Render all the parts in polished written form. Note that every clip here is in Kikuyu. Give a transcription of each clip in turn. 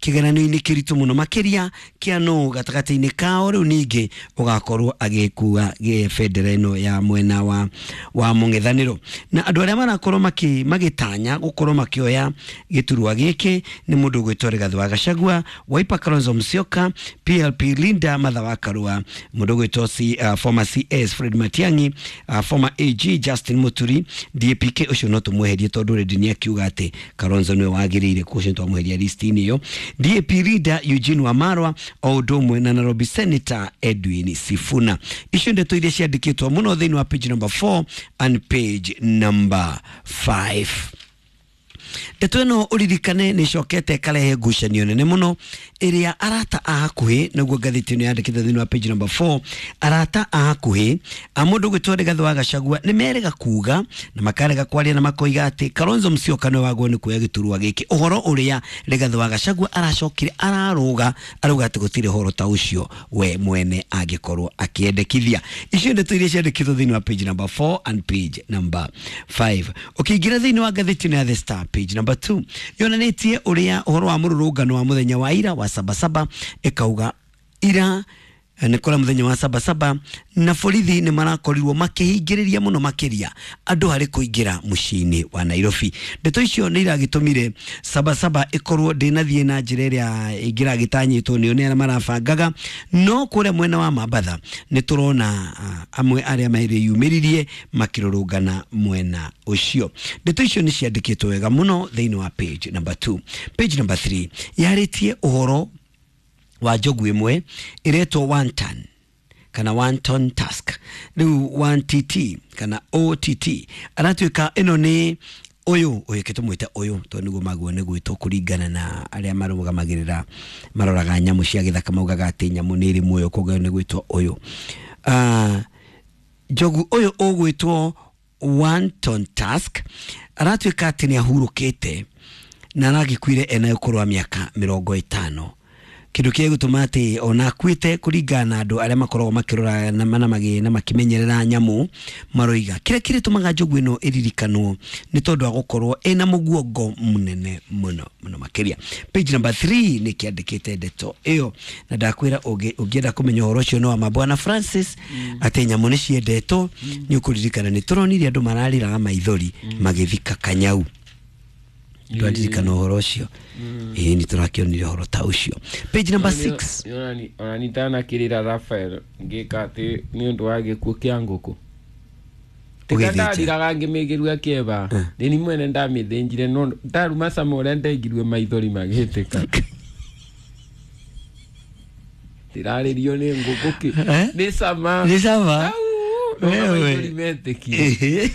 kĩgeranio-inĩ kĩritũ mũno makĩria kĩa nũ gatagatĩ-inĩ kao rĩu ningĩ ũgakorwo agĩkua bendera ĩno ya mwena wa mũng'ethanĩro. Na andũ arĩa marakorwo magĩtanya gũkorwo makĩoya gĩturwa gĩkĩ nĩ mũndũ ũgwĩtwo Rigathĩ wa Gachagua, Wiper Kalonzo Musyoka, PLP Linda Martha wa Karua, mũndũ ũgwĩtwo former CS Fred Matiang'i, former AG Justin Muturi, DAPK ũcio no tũmweherie tondũ already nĩ akiuga atĩ Kalonzo nĩwe wagĩrĩire, ũcio twamweheria list-inĩ ĩyo. DAP leader Eugene Wamalwa o ũndũ ũmwe na Nairobi Senator Edwin Sifuna. Icio ndeto iria ciandĩkĩtwo mũno thĩinĩ wa page number 4 and page number 5. Ndeto ĩno ũririkane nĩ ĩcokete ĩkarehe ngucanio nene mũno ĩrĩa arata a hakuhĩ, nĩguo ngathĩti ĩno yandĩkĩte thĩinĩ wa page number 4, arata a hakuhĩ a mũndũ ũgwĩtwo Rigathĩ wa Gachagua nĩ merega kuga na makarega kwaria na makoiga atĩ Kalonzo Musyoka nĩwe wagwo nĩ kuoya gĩturwa gĩkĩ. Ũhoro ũrĩa Rigathĩ wa Gachagua aracokire ararũga arauga atĩ gũtirĩ ũhoro ta ũcio we mwene angĩkorwo akĩendekithia. Icio ndeto iria ciandĩkĩtwo thĩinĩ wa page number 4 and page number 5. Ũkĩingĩra thĩinĩ wa ngathĩti ĩno ya The Star, page number 2 yonanĩtie ũrĩa ũhoro wa mũrũrũngano wa mũthenya wa ira wa Sabasaba, ĩkauga ira nĩ kũrĩa mũthenya wa Sabasaba na borithi nĩ marakorirwo makĩhingĩrĩria mũno makĩria andũ harĩ kũingĩra mũciĩ-inĩ wa Nairobi. Ndeto icio nĩ iragĩtũmire Sabasaba ĩkorwo ndĩnathiĩ na njĩra ĩrĩa ĩngĩragĩtanyĩtwo nĩo nĩ arĩa marabangaga, no kũrĩa mwena wa Mambatha nĩ tũrona amwe arĩa merĩyumĩririe makĩrũrũngana mwena ũcio. Ndeto icio nĩ ciandĩkĩtwo wega mũno thĩinĩ wa page number 2. Page number 3 yarĩtie ũhoro wa njogu ĩmwe ĩretwo one ton kana one ton task, rĩu 1TT kana OTT, aratuĩka ĩno nĩ ũyũ ũyũ tũmwĩte ũyũ tondũ nĩguo maguo nĩ gwĩtwo kũringana na arĩa marũgamagĩrĩra maroraga nyamũ cia gĩthaka, maugaga atĩ nyamũ nĩ ĩrĩ muoyo, koguo nĩ gwĩtwo ũyũ. Njogu ũyũ ũgwĩtwo one ton task aratuĩka atĩ nĩ ahurũkĩte na aragĩkuire ena ũkũrũ wa mĩaka 50, kĩndũ kĩrĩa gĩtũma atĩ ona akuĩte kũringana na andũ arĩa makoragwo makĩrora na makĩmenyerera nyamũ maroiga kĩrĩa kĩrĩtũmaga njogu ĩno ĩririkanwo nĩ tondũ wa gũkorwo ĩna mũguongo mũnene mũno mũno makĩria. Page number 3 nĩ kĩandĩkĩte ndeto ĩyo, na ndakwĩra ũngĩenda kũmenya ũhoro ũcio no wa Bwana Francis atĩ nyamũ nĩ ciendetwo, nĩ ũkũririkana nĩ tũronire andũ mararĩraga maithori magĩthika kanyau. Twaririkana ũhoro ũcio, ĩĩ nĩ tũrakĩonire ũhoro ta ũcio. Page number 6. Ona nitanakĩrĩra Rafael ngĩka atĩ nĩ ũndũ wa gĩkuũ kĩa ngũkũ ndariraga ngĩmĩgĩrua kĩeva nĩ mwene ndamĩthĩnjire no ndaruma cama ũrĩa ndengirue maithori magĩtĩka. Ndĩrarĩrio nĩ ngũkũ kĩ nĩ cama, nĩ cama maithori metĩkire.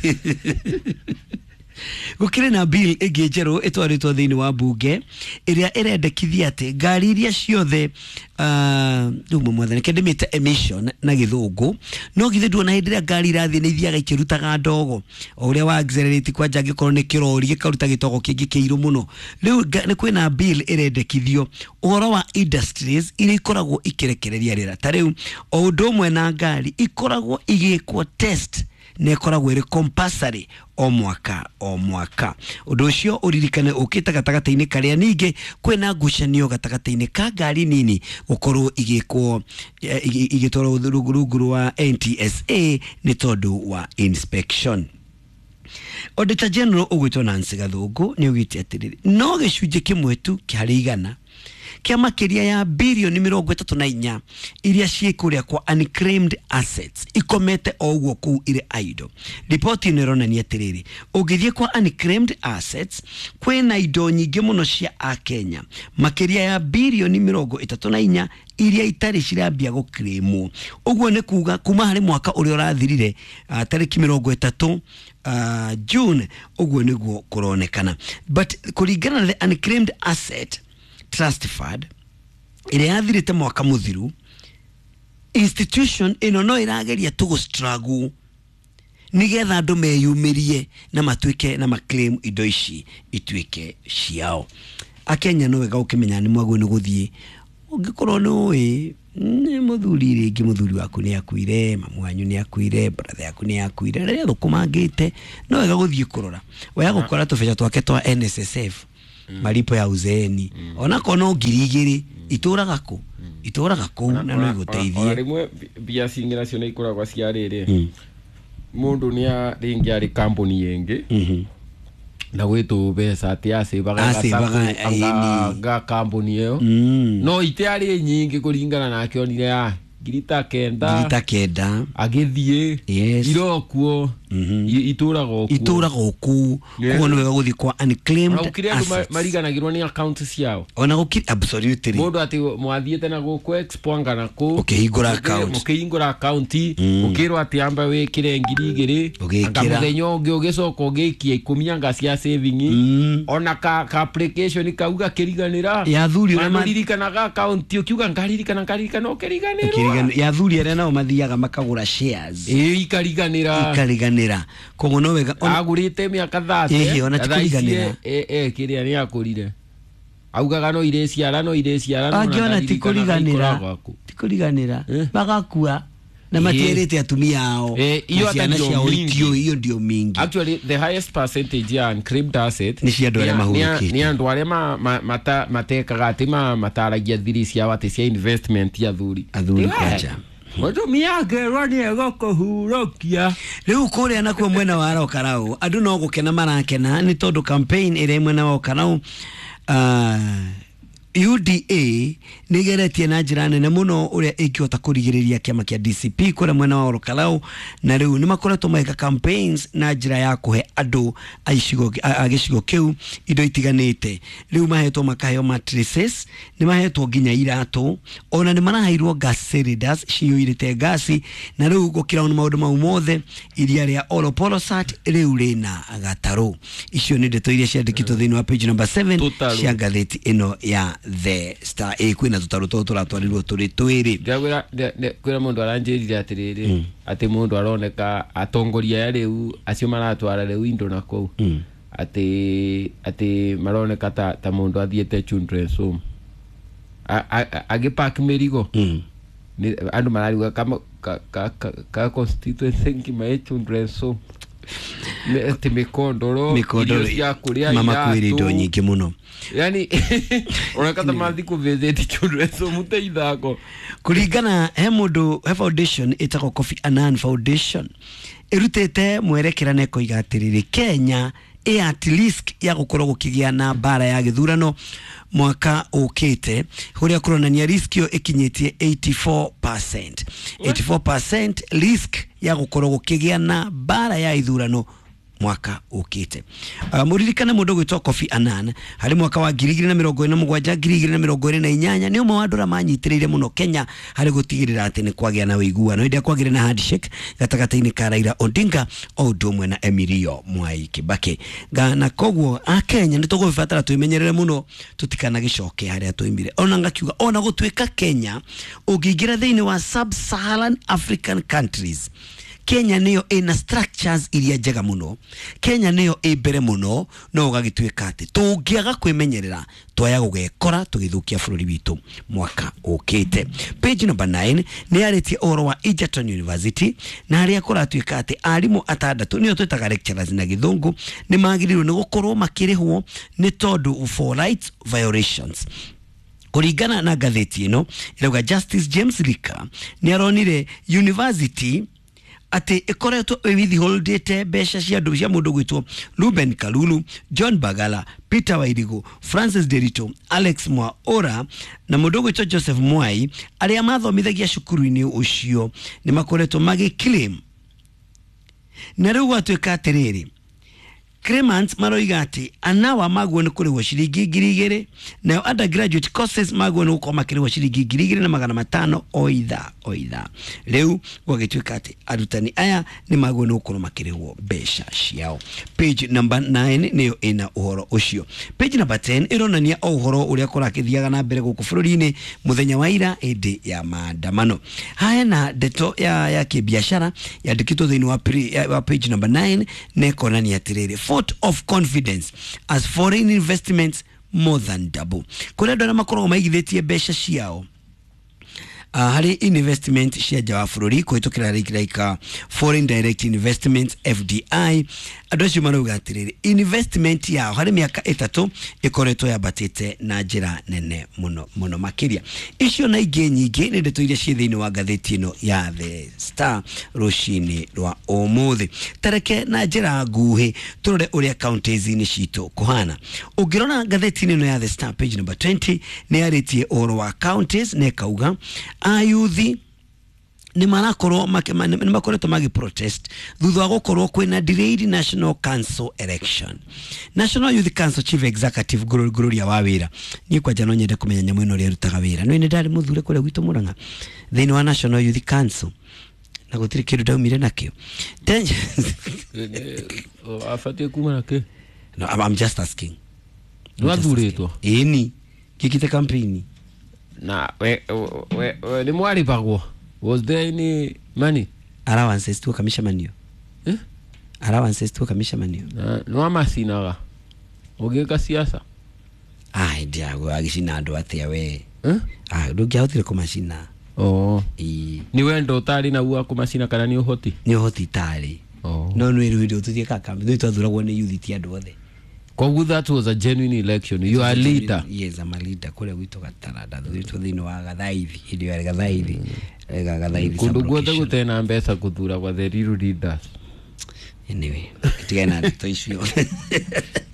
Gũkĩrĩ na bill ĩngĩ njerũ ĩtwarĩtwo thĩinĩ wa mbunge ĩrĩa ĩrendekithia atĩ ngari iria ciothe rĩu mwathani kende mĩte emission na gĩthũngũ, no githĩ nduona hĩndĩ ĩrĩa ngari irathiĩ nĩ ithiaga ikĩrutaga ndogo o ũrĩa wa accelerate kwanja angĩkorwo nĩ kĩrori gĩkaruta gĩtogo kĩngĩ kĩirũ mũno. Rĩu nĩ kwĩna bill ĩrendekithio ũhoro wa industries iria ikoragwo ikĩrekereria rĩera, ta rĩu o ũndũ ũmwe na ngari ikoragwo igĩkwo test na ĩkoragwo ĩrĩ compulsory o mwaka o mwaka. Ũndũ ũcio ũririkane ũkĩte gatagatĩ-inĩ karĩa ningĩ kwĩna ngucanio gatagatĩ-inĩ ka ngari nini gũkorwo igĩkwo igĩtwarwo rungu rwa NTSA nĩ tondũ wa inspection. Auditor General ũgwĩtwo Nancy Gathũngũ nĩ augĩte atĩrĩrĩ, no gĩcunjĩ kĩmwe tu harĩ igana kĩa makĩria ya bilioni 34 iria ciĩ kũrĩa kwa unclaimed assets ikomete o ũguo kũu irĩ idle. Riboti ĩno ĩronania atĩrĩrĩ, ũngĩthiĩ kwa unclaimed assets kwĩna indo nyingĩ mũno cia Akenya makĩria ya bilioni 34 iria itarĩ cirambia gũclaimwo. Ũguo nĩ kuga kuma harĩ mwaka ũrĩa ũrathirire tarĩki 30 June, ũguo nĩguo kũronekana. But kũringana na the unclaimed asset Trust Fund ĩrĩa yathirĩte mwaka mũthiru, institution ĩno no ĩrageria tu gũ struggle nĩgetha andũ meyumĩrie na matuĩke na maclaim indo ici ituĩke ciao. Akenya no wega ũkĩmenya nĩ mwagwo nĩ gũthiĩ ũngĩkorwo nĩ ũĩ nĩ mũthuri rĩngĩ mũthuri waku nĩ akuire, mamu wanyu nĩ akuire, brother yaku nĩ akuire, rĩrĩa thũkũmangĩte no wega gũthiĩ kũrora wega gũkora tũbeca twake twa NSSF Malipo ya uzeeni onako no 2,000 itũraga kũ itũraga kũu na no igũteithie. Ona rĩmwe mbia cingĩ nacio nĩ ikoragwo cia rĩrĩ mũndũ nĩ rĩngĩ arĩ kambuni ĩngĩ na gwĩtũ mbeca atĩ Acĩvaga, acĩvaga nga kambuni ĩyo no itiarĩ nyingĩ kũringana nake onire ya ngiri ta kenda ngiri ta kenda agĩthiĩ Yes. irokuo itũraga okuo itũraga okũu. Yeah. Koguo nĩ wega gũthiĩ kwa unclaimed ona gũkĩrĩ andũ assets. mariganagĩrwo nĩ account ciao. Ona gũkĩrĩ absolutely. Mũndũ atĩ mwathiĩte na gũkũ expo anga na kũ Ũkĩhingũra account. Mũkĩhingũra account ũkĩrwo atĩ amba wĩkĩre 2,000 Ũgĩkĩra. anga mũthenya ũngĩ ũgĩcoka ũgĩikia 10 anga cia saving ona ka application kau gakĩriganĩra. Ya athuri ũrĩa Maririkanaga account ũkiuga ngaririkana ngaririkana ũkĩriganĩrwo. Ya athuri arĩa nao mathiaga makagũra shares ĩĩ ikariganĩra. Ikariganĩra koguo no wega Agũrĩte mĩaka 30 Ĩhĩ, ona ti kũriganĩra. Kĩrĩa nĩ akũrire augaga no irĩciara no irĩciara no angĩona ti ndaririkananga kũriganĩra ikoragwo kũ. ti kũriganĩra Eh. magakua na matierĩte atumia ao Iyo na ciana hata ndio ciao mingi. itiũĩ iyo ndio mingi. Actually the highest percentage ya unclaimed asset Nĩ cia andũ arĩa mahurũkĩte. nĩ andũ arĩa matekaga atĩ mataragia thiri ciao atĩ cia investment ya athuri. Athuri Ti we, kwanja. Mũtumia angĩrwo nĩ egũkũhurũkia. Rĩu kũrĩa nakuo mwena wa Rokarau andũ no gũkena marakena nĩ tondũ campaign ĩrĩa ĩ mwena wa Okarau UDA nĩ ĩgeretie na njĩra nene mũno ũrĩa ĩngĩhota kũrigĩrĩria kĩama kĩa DCP kũrĩa mwena wa Orokarau na rĩu nĩ makoretwo magĩka campaigns na njĩra ya kũhe andũ a icigo a gĩcigo kĩu indo itiganĩte. Rĩu mahetwo makaheo mattresses, nĩ mahetwo nginya iratũ, ona nĩ maraheirwo gas cylinders ciyũirĩte gasi, na rĩu gũkĩra ona maũndũ mau mothe iria rĩa Olopolosat rĩu rĩna gatarũ. Icio nĩ ndeto iria ciandĩkĩtwo thĩinĩ wa page number 7 Tũtarũ. cia ngathĩti ĩno ya The Star. Ĩ kwĩna tũtarũ tũtũ tũratwarirwo tũrĩ twĩrĩ. Ndĩrakwĩra kwĩra mũndũ aranjĩrire atĩrĩrĩ atĩ mũndũ aroneka atongoria aya rĩu acio maratwara rĩu indo na kũu atĩ maroneka ta mũndũ athiĩte children's home agĩpack mĩrigo. Andũ marariuga ka constituency ngima ĩ children's home. Atĩ mĩkondoro mĩkondoro irio cia kũrĩa mama kwĩrĩ indo iratũ. nyingĩ mũno. Yani oneka ta mathi kũvisit children's home te ithako. Kũringana he mũndũ he foundation ĩtagwo Kofi Annan Foundation ĩrutĩte mwerekera na ĩkoiga atĩrĩrĩ Kenya ĩ at risk ya gũkorwo gũkĩgĩa na mbara ya gĩthurano mwaka ũkĩte ũrĩa kũronania risk ĩyo ĩkinyĩtie 84%. 84% risk ya gũkorwo gũkĩgĩa na mbara ya ithurano mwaka ũkĩte. Mũririkane mũndũ ũgwĩtwo Kofi Annan harĩ mwaka wa 2027 2028 nĩ ũmwe wa andũ arĩa manyitĩrĩire mũno Kenya harĩ gũtigĩrĩra atĩ nĩ kwagĩa na ũiguano hĩndĩ ĩrĩa kwagĩire na handshake gatagatĩ-inĩ ka Raila Odinga o ũndũ ũmwe na Emilio Mwai Kibaki. Na koguo akenya nĩ tũgũbatara twĩmenyerere mũno tũtikanagĩcoke harĩa twaimire. Ona ngakiuga ona gũtuĩka Kenya ũngĩingĩra thĩinĩ wa sub-Saharan African countries, Kenya nĩyo ĩna structures iria njega mũno, Kenya nĩyo ĩ mbere mũno, no ũgagĩtuĩka atĩ tũngĩaga kwĩmenyerera twaya gũgekora tũgĩthũkia bũrũri witũ mwaka ũkĩte. Page number 9 nĩ yarĩtie ũhoro wa Egerton University na harĩa kũratuĩka atĩ arimũ atandatũ nĩo twĩtaga lecturers na gĩthũngũ nĩ magĩrĩirwo nĩ gũkorwo makĩrĩhwo nĩ tondũ for rights violations. Kũringana na ngathĩti ĩno ĩrauga Justice James Lika nĩ aronire university atĩ ĩkoretwo ĩwithholdĩte mbeca cia andũ cia mũndũ gwĩtwo Ruben Kalulu, John Bagala, Peter Wairigu, Francis Derito, Alex Mwaura na mũndũ gwĩtwo Joseph Mwai arĩa mathomithagia cukuru-inĩ ũcio nĩ makoretwo magĩclaim. Na rĩu gwatuĩka atĩrĩrĩ claimants maroiga atĩ anawa maguo nĩ kũrĩhwo ciringi 2,000 nayo undergraduate courses maguo nĩ gũkorwo makĩrĩhwo ciringi 2,500 o ithaa o ithaa. Rĩu gwagĩtuĩka atĩ arutani aya nĩ maguo nĩ gũkorwo makĩrĩhwo mbeca ciao. Page number 9 nĩyo ĩna ũhoro ũcio. Page number 10 ĩronania o ũhoro ũrĩa kũrakĩthiaga na mbere gũkũ bũrũri-inĩ mũthenya wa ira hĩndĩ ya maandamano. Haya na ndeto ya kĩbiacara yandĩkĩtwo thĩinĩ wa page number 9 na ĩkonania atĩrĩrĩ vote of confidence as foreign investments more than double. Kũrĩ andũ arĩa makoragwo maigithĩtie mbeca ciao Harĩ investment cia nja wa bũrũri kũhĩtũkĩra like foreign direct investment FDI, andũ acio marauga atĩrĩrĩ, investment yao harĩ mĩaka 3 ĩkoretwo yambatĩte na njĩra nene mũno mũno makĩria. Icio na ingĩ nyingĩ nĩ ndeto iria ciĩ thĩinĩ wa ngathĩti ĩno ya The Star rũcinĩ rwa ũmũthĩ. Tareke na njĩra nguhĩ tũrore ũrĩa counties-inĩ citũ kũhana. Ũngĩrora ngathĩti-inĩ ĩno ya The Star page number 20 nĩ yarĩtie ũhoro wa counties na ĩkauga ayuthi nĩ marakorwo nĩ makoretwo magi protest thutha wa gũkorwo kwĩna delayed National Council election. National Youth Council Chief Executive Gloria Wawira, niĩ kwanja no nyende kũmenya nyamũ ĩno ũrĩa ĩrutaga wĩra. Nĩ nĩ ndarĩ mũthure kũrĩa gwitũ Murang'a thĩinĩ wa National Youth Council na gũtirĩ kĩndũ ndaumire nakĩo. Abatie kuma na kĩ? No, I'm just asking. Nĩwathurĩtwo? Ĩni ngĩkĩte campaign. Na we nĩ mwarĩbagwo? Was there any money? Allowances tu kamishamanio. Eh? Allowances tu kamishamanio. Na nĩ wamacinaga ũgĩka siasa? Ah, ndiago agicina andũ atĩa we? Eh? Ah, ndũngĩahotire kũmacina. Oh. Ĩĩ. Nĩ wendo ũtarĩ naguo wa kũmacina kana nĩ ũhoti? Nĩ ũhoti itarĩ. Oh. No nĩ rĩu hĩndĩ tũthiĩ ka campaign twathuragwo nĩ youth ti andũ othe. Koguo that was a genuine election. You are a leader. Yes, I'm a leader. Kũrĩa gwitũ Gataranda thuritwo thĩinĩ wa Gathaithi, hĩndĩ ĩyo yarĩ Gathaithi. Gathaithi Kũndũ guothe sub-location. gũtena mbeca gũthura gwa the real leaders. Anyway, tigana na ndeto icio.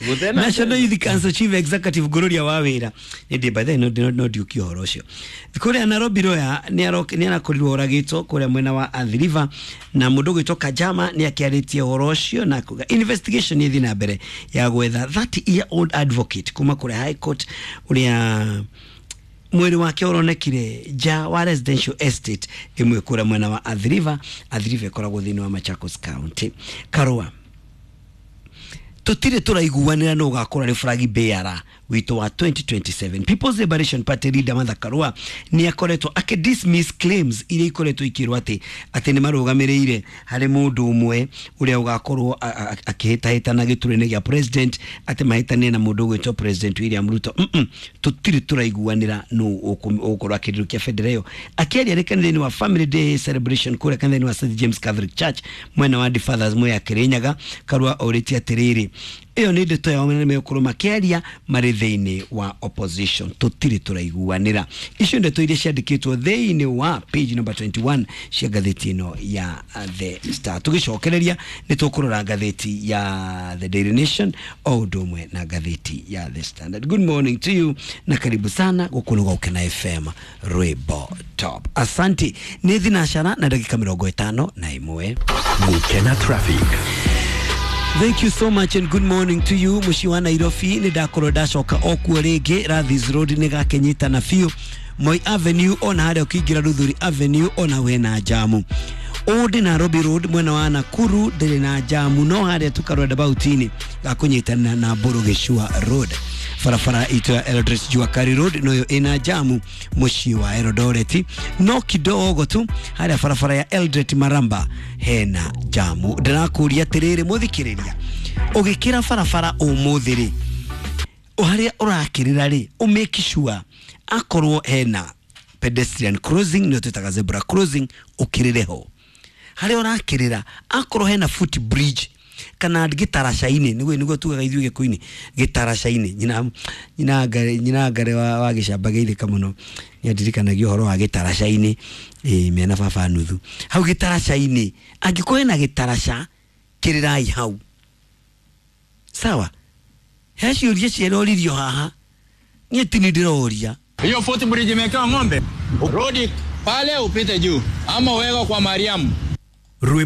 Gũtena National Youth Council Chief Executive Gloria Wawira nĩ by the way no ndiũkie ũhoro ũcio. Kũrĩa Nairobi Roya nĩ arakorirwo oragĩtwo kũrĩa mwena wa Athi River, na mũndũ ũgwĩtwo Kajama nĩ akĩarĩtie ũhoro ũcio na kuga investigation ĩthiĩ na mbere ya gwetha 30-year-old advocate kuma kũrĩa High Court ũrĩa mwĩrĩ wake ũronekire nja wa residential estate ĩmwe kũrĩa mwena wa Athi River. Athi River ĩkoragwo thĩinĩ wa Machakos County. Karũa, tutire tũraiguanĩra no ũgakorwo arĩ flag bearer witũ wa 2027. People's Liberation Party leader Martha Karua nĩ akoretwo akĩ dismiss claims iria ikoretwo ikĩrwo atĩ nĩ marũgamĩrĩire harĩ mũndũ ũmwe ũrĩa ũgakorwo akĩhĩtahĩtana gĩturwa-inĩ gĩa president, atĩ mahĩtanie na mũndũ ũgwĩtwo President William Ruto. Tũtirĩ tũraiguanĩra nũ ũgũkorwo akĩrirũkia bendera ĩyo. Akĩaria arĩ kanitha-inĩ wa Family Day celebration kũrĩa kanitha-inĩ wa St James Catholic Church mwena wa The Fathers Mwea Kĩrĩnyaga, Karua orĩtie atĩrĩrĩ, ĩyo nĩ ndeto yao na megũkorwo makĩaria marĩ thĩinĩ wa opposition. Tũtirĩ tũraiguanĩra. Icio ndeto iria ciandĩkĩtwo thĩinĩ wa page number 21 cia ngathĩti ĩno ya The Star. Tũgĩcokereria nĩ tũkũrora ngathĩti ya The Daily Nation o ũndũ ũmwe na ngathĩti ya The Standard. Good morning to you na karibu sana gũkũ nĩ Gũkena FM Rwĩmbo Top. Asante. Nĩ thinacara na ndagĩka 51. Gũkena Traffic. Thank you so much and good morning to you. Mũciĩ wa Nairobi nĩ ndakorwo ndacoka o kuo rĩngĩ. Rathis Road nĩ gakenyitana biũ. Moi Avenue ona harĩa ũkĩingĩra Luthuli Avenue ona wena jamu. Old Nairobi Road mwena wa Nakuru ndĩrĩ na jamu, no harĩa tukarwenda gakũnyitana na Mburu Gĩcua Road. Barabara itũ ya Eldoret Jua Kali Road noyo ina jamu mũciĩ wa Eldoret, no kidogo tu harĩa barabara ya Eldoret Maramba hena jamu. Ndĩrakũria atĩrĩrĩ mũthikĩrĩria, ũgĩkĩra barabara ũmũthĩ rĩ, harĩa ũrakĩrĩra rĩ, ũmake sure akorwo hena pedestrian crossing, nĩyo twĩtaga zebra crossing, ũkĩrĩre ho. Harĩa ũrakĩrĩra akorwo hena foot bridge kana gĩtaraca-inĩ, nĩguo tugaga ithuĩ Gĩkũyũ-inĩ gĩtaraca-inĩ. Nyina ngare wa gĩcamba gĩithĩka mũno nĩandirikanagia ũhoro wa gĩtaraca-inĩ, mena baba nuthu hau gĩtaraca-inĩ. Angĩkorwo hena gĩtaraca, kĩrĩrai hau, sawa. He ciũria ciaroririo haha, niĩ ti nĩ ndĩroria. Hiyo foot bridge imewekewa ng'ombe, rudi pale upite juu ama uweke kwa Mariamu.